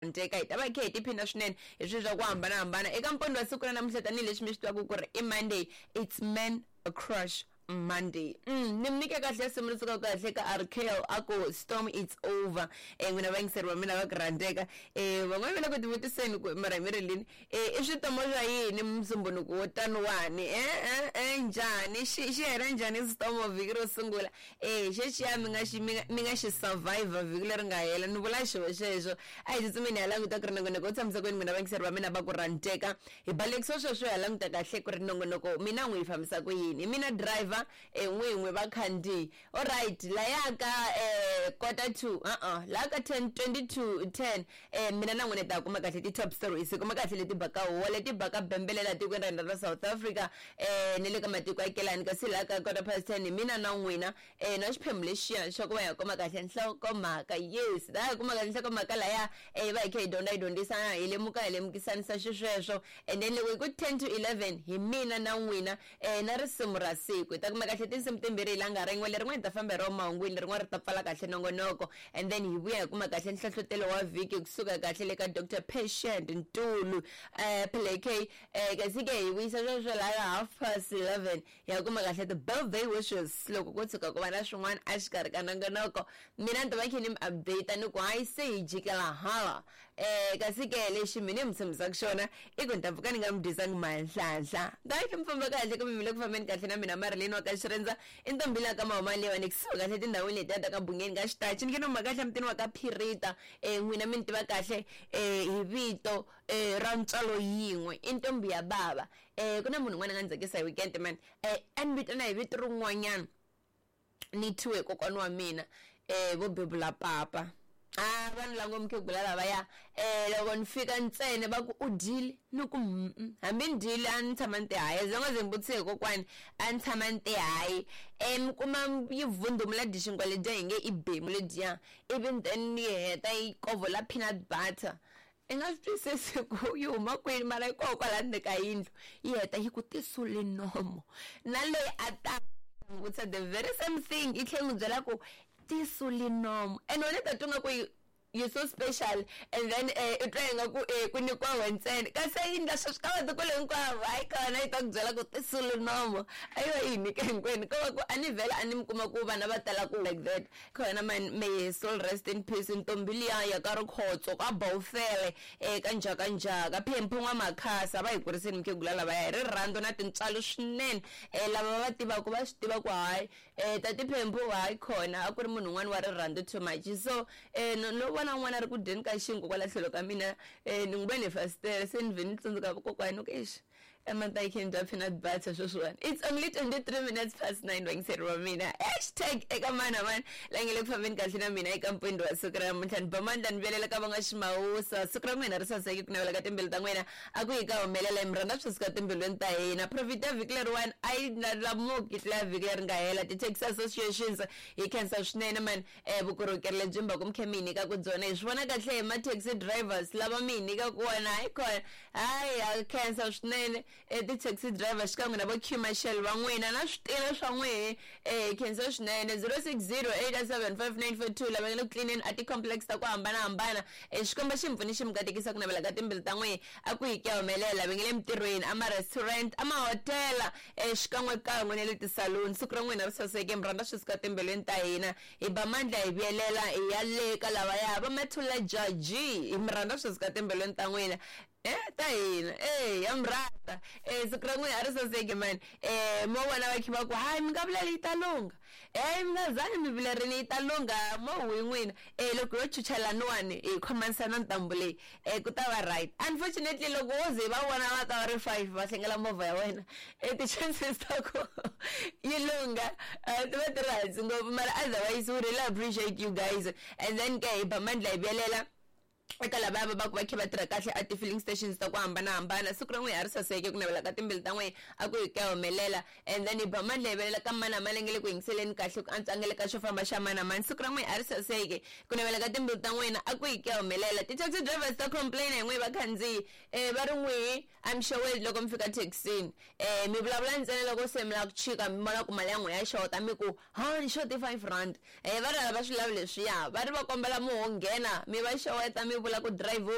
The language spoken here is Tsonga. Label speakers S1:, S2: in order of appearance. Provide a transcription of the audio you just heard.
S1: Nteka hi ta va hi kha hi tiphina swinene hi swilo swa ku hambanahambana eka mpondho wa siku ra namuntlha tanihileswi mi swi tivaka ku ri i Monday, it's Man Crush Monday. Ni mi nyike kahle risimu ri sukaka kahle ka Arkel a ku Storm It's Over. N'wina vayingiseri va mina va ku rhandzeka. Van'wana va le ku tivutiseni ku mara hi mi ri lini i switomo swa yini musumbhunuku wo taniwani njhani xi xi hela njhani xitomo vhiki ro sungula e xexiya mi nga xi mi nga mi nga xi survivor vhiki leri nga hela ni vula xo xexo a hi tsutsumeni hi ya languta ku ri nongonoko wu tshamisa kwini n'wina vayingiseri va mina va ku rhandzeka hi balekisa sweswo hi ya languta kahle ku ri nongonoko mina n'wi yi fambisa ku yini hi mina driver e n'win'we vakhandziyi alright laya ka quarter to uh-uh laha ka 10 20 to 10 mina na n'wina hi ta kuma kahle ti-top stories hi kuma kahle leti baka huwa leti baka bembelela tikweni ra hina ra South Africa ni le ka matiko ya kelani kasi laha ka quarter past 10 hi mina na n'wina na xiphemu lexiya xa ku va hi kuma kahle nhlokomhaka yes laha hi kuma kahle nhlokomhaka laya hi va hi kha hi dyondza hi dyondzisana hi lemuka hi lemukisanisa xisweswo and then loko hi ku 10 to 11 hi mina na n'wina na risimu ra siku hi ta kuma kahle tinsimu timbirhi hi langa rin'we lerin'wana hi ta famba hi ro mahungwini lerin'wana ri ta pfala kahle nongonoko and then hi vuya hi kuma kahle nhlohlotelo wa vhiki kusuka kahle le ka Dr Patient Ntulu Play K kasi ke hi vuyisa sweswo laha half past 11 hi ya kuma kahle ti-birthday wishes loko ko tshuka ku va na swin'wana exikarhi ka nongonoko mina ni ta va khe ni mi update ni ku hayi se hi jikela hala kasi ke lexi mina mi tshembisaka xona i ku ni ta pfuka ni nga mi dyisangi manhlanhla ni ta va khe mi famba kahle kumbe mi le ku fambeni kahle na mina Marilyn wa ka Xirindza i ntombi la ka Mahuma leyiwani kusuhi kahle tindhawini letiya ta ka Bungeni ka Xitachi ni nge no huma kahle emutini wa ka Phirita n'wina mi ni tiva kahle hi vito ra ntswalo yin'we i ntombi ya bava ku na munhu un'wana a nga ni tsakisa hi weekend man a ni vitana hi vito rin'wanyana ni thyiwe hi kokwana wa mina vo bebula papa a vanhu lavo mukhegula lavaya loko ni fika ntsena va ku u dyile ni ku hambi ni dyile a ni tshama ni ti hayi as long as ni vutise hi kokwani a ni tshama ni ti hayi mi kuma yi vundhumula dyi xinkwa ledyiya hi nge i bemu ledyiya ivi then yi heta yi kovhola peanut butter i nga swi twisisi ku yi huma kwini mara yi koho kwala ndzeni ka yindlu yi heta yi ku tisuli nomo na loyi a ta n'wi vutisa the very same thing yi tlhela yi n'wi byela ku tisuli nomo and wena u ta twa nga ku you so special and then u twa ingaku ku nyikiwa wena ntsena kasi yi endla sweswo ka vatukulu hinkwavo hayi kona yi ta ku byela ku tisuli nomo a yi va yi hi nyike hinkwenu ko va ku a ni vhela a ni mi kuma ku vana va tala ku like that Khona man may his soul rest in peace ntombi liya ya ka Rikhotso ka Bawufele ka Njhakanjhaka Phemphu N'wamakhasa va hi kuriseni mukhegula lavaya hi rirhandzu na tintswalo swinene lava va va tivaka va swi tiva ku hayi tati Phemphu hayi khona a ku ri munhu un'wana wa rirhandzu too much so no vona un'wana a ri ku dyeni ka xinkwa kwala tlhelo ka mina ni n'wi vone hi fasitere se ni vhe ni tsundzuka vakokwani ni ku eish Emantayikeni bya peanut butter sweswiwani it's only 23 minutes past 9 vayingiseri va mina hashtag eka mani na mani la nge le ku fambeni kahle na mina eka mpfundhi wa siku ra namuntlha ni ba mandla ni vuyelela ka va nga ximawusa siku ra n'wina ri saseke ku navela ka timbilu ta n'wina a ku yi ka humelela hi mi rhandza swi suka timbilwini ta hina profit ya vhiki leriwani a yi lamuki tlula vhiki leri nga hela ti-taxi associations hi khensa swinene mani Vukorhokeri lebyi mi va ku mi khe mi hi nyikaka byona hi swi vona kahle hi ma-taxi drivers lava mi hi nyikaka wona hayi kona hayi ha khensa swinene ti-taxi driver xikan'we na vo queue marshal va n'wina na switina swa n'wehe hi khensa swinene 0608755942 lava nga le ku tlilineni a ti-complex ta ku hambanahambana Xikwembu xi mi pfuni xi mi katekisa ku navela ka timbilu ta n'wehe a ku hi ku ya humelela va nge le mintirhweni a ma-restaurant a mahotela xikan'wekan'we na le tisaluni siku ra n'wina ri saseke mi rhandza swi suka timbilwini ta hina hi ba mandla hi vuyelela hi ya le ka lavaya va mathula jaji hi mi rhandza swi suka timbilwini ta n'wina ta hina e ya mi rhandza siku ra n'wina a ri saseke mani mo vona va khe va ku hayi mi nga vuleli yi ta lungha mi nga zangi mi vilerini yi ta lungha mo huhi n'wina loko yo chucha laniwani hi khomanisa na ntambu leyi ku ta va right unfortunately loko wo ze va vona va ta va ri 5 va hlengela movha ya wena ti-chances ta ku yi lungha ti va ti ri hansi ngopfu mara otherwise we really appreciate you guys and then ke hi ba mandla hi vuyelela eka lavaya va va ku va khe va tirha kahle a ti-filling stations ta ku hambanahambana siku ra n'wina a ri saseke ku navela ka timbilu ta n'wina a ku hi ku ya humelela and then hi ba mandla hi velela ka mani na mani nge le ku yingiseleni kahle ku antswa a nga le ka xo famba xa mani na mani siku ra n'wina a ri saseke ku navela ka timbilu ta n'wina a ku hi ku ya humelela ti-taxi drivers ta complain hi n'wina vakhandziyi va ri n'wihi a mi xeweli loko mi fika thekisini mi vulavula ntsena loko se mi lava ku chika mi vona ku mali ya n'wina ya xota mi ku ha ni xote R5 va ri a va swi lavi leswiya va ri va kombela mi ho nghena mi va xeweta mi vula ku driver.